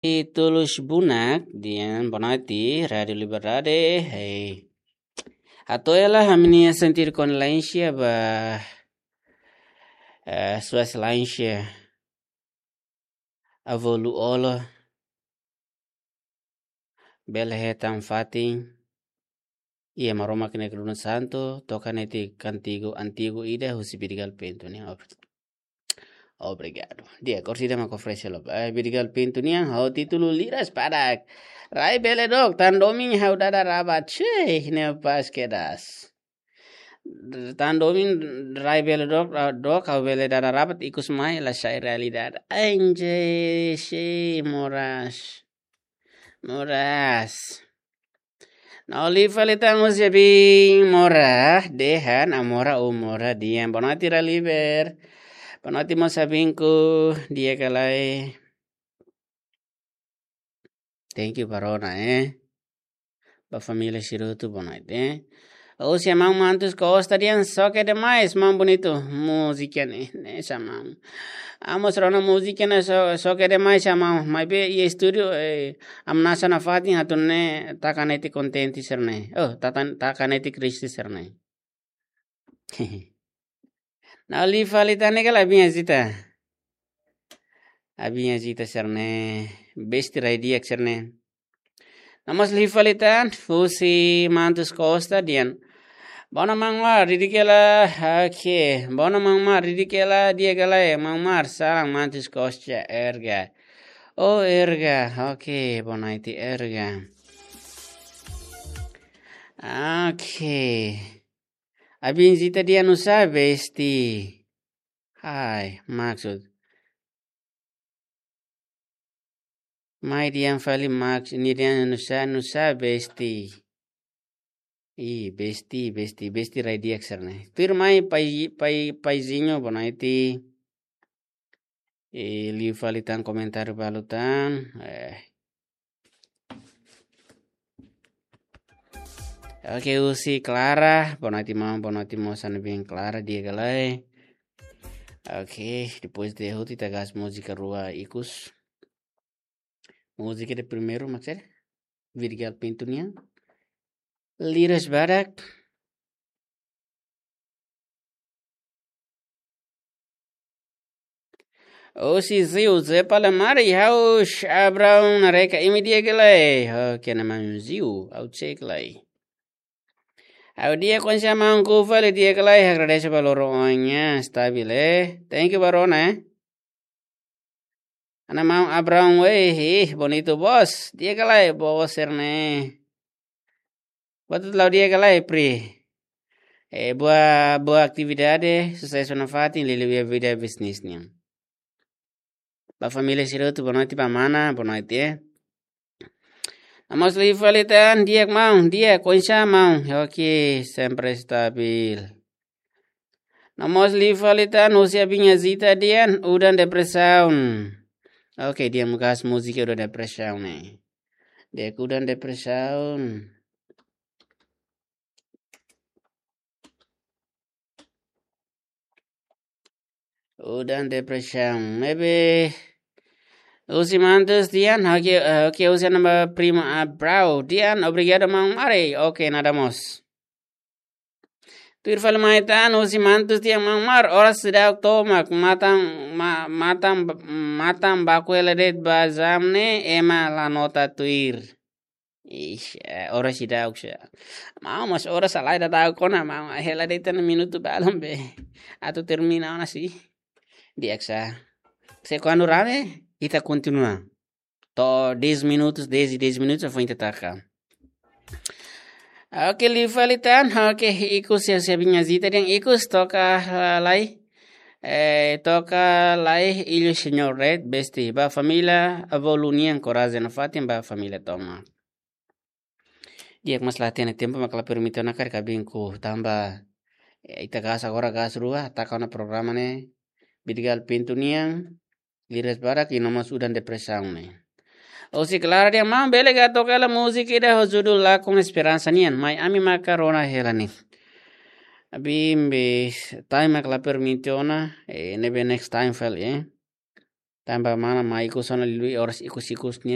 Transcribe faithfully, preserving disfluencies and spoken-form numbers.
Tulus Bunak, dian bonaiti, Rádio Liberdade, hei. Hato'o hela ha'u-nia sentidu kondolénsia ba, eh, Suas Lansia, Avó Luolo, bele hetan fatin, iha Maromak nia Kruna Santu, toka netik kantigu antigu ida husi Vidigal Pinto nian. Ob-, obrigadu. Di'ak, orsida mak oferese lo. Eh, Vidigal Pinto nian, ha'u títulu Liras Padak. Rai bele dook, tan domin ha'u dada rabat. Ceh, ne pas kedas. Tan domin rai bele dook, ah, dook, ha'u bele dada rabat, ikus mai la sai realidade. Anjay, si moras. Moras. Ha'u liu fali tan husi abin Mora, dehan, ah, Mora, oh, Mora, di'ak. Bonaiti Raliber. Bonaiti mós abinku, di'ak ka lae. Thank you, ba rona, eh. Ba família sira hotu, bonaiti, eh. Husi maun Mantus Costa dehan, "Soke demais, maun bonitu. Múzika ne'e, ne'e sa maun." Amos rona múzika ne'e so-, soke demais sa maun. Maibé iha estúdiu, eh, ami-nia nasaun nafatin atu nune'e taka netik kontente sira-ne'e. Oh, tatan-, taka netik triste sira-ne'e. Ha'u liu fali tan ne'e kala abin Azita. Abin Azita sira-ne'e, besti rai di'ak sira-ne'e. Ha'u mós liu fali tan, husi Mantus Costa dehan. Bonaire maun Mar, di'ak ka lae, oke. Bonaire maun Mar, di'ak ka lae, di'ak ka lae, maun Mar, salam Mantus Costa, Erga. Oh, Erga, oke, bonaiti Erga. Oke. Abin Zita dehan nusá besti. Hai, maksud. Mai dehan fali maks-, nia dehan nusá, nusá besti. Ih, besti, besti, besti rai di'ak sira-ne'e. Tuirmai pai, pai, paizinho, bonaiti. Eh, liu fali tan komentáriu balu tan. Eh. Oke, husi Clara, bonaiti maun, bonaiti mós, hanesan ne'ebé Clara, di'ak ka lae. Oke, depois de hotu ita gas múzika rua ikus. Múzika de primeiru, mak sira? Vidigal Pinto nian. Liras Badak. Husi Ziu, Zé Palamari, ha'u Abraão Nareka, imi di'ak ka lae. Oke, nama Ziu, ha'u cek lai. Ha'u di'ak, oinsá maun, ku fali di'ak ka lae, agradese ba loron ohin, stabil, eh. Thank you, ba rona, eh. Hanesan maun Abraão, weh, ih, bonitu, bos. Di'ak ka lae, bos, sira-ne'e. Buat hotu la'o di'ak ka lae, Pri. Eh, boa, boa atividade, susesu nafatin, liuliu iha vida bisnis nian. Ba família sira hotu, bonaiti, ba mana, bonaiti, eh. Ha'u mós liu fali tan, di'ak maun, di'ak, oinsá maun. Oke, sempre stabil. Ha'u mós liu fali tan, husi abin Azita dehan, udan depresaun. Oke, dehan mak gas múzika udan depresaun ne'e. Di'ak, udan depresaun. Udan depresaun. Maybe husi Mantus dehan, oke, eh, oke, husi nama prima Abrao dehan, obrigadu maun Mari. Oke, nada mós. Tuir fali mai tan, husi Mantus dehan maun Mar, oras seidauk tomak, matan, ma-, matan, matan baku hela de'it ba jam ne'e, ema la nota tuir. Ixi, eh, oras seidauk sa. Maun, mas oras halai daudauk ona, maun, hela de'it tan minutu balun be. Atu termina ona si. Di'ak sa. Se kuandu rame, ita kontinua. To'o dez minutos, dez e dez minutos, foin ita taka. Oke, liu fali tan. Oke, ikus ya, se abin Azita dehan ikus toka, ah, lai. Eh, toka lai, Illu Señor Red, besti. Ba família, avó Lu nian, korajen nafatin, ba família tomak. Di'ak, mas la hatene tempu mak la permite ona karik abinku tanba, eh, ita gas agora gas rua, taka ona programa ne'e, Vidigal Pinto nian, Liras Badak, i no mós udan depresaun ne'e. Husi Clara dehan maun bele ka toka hela múzika ida ho judul Lakon Esperansa nian, mai ami maka rona hela ne'e. Abin be time mak la permite ona, eh, ne'ebé next time fali, eh. Tanba mana mai ikus ona liuliu oras ikus-ikus nia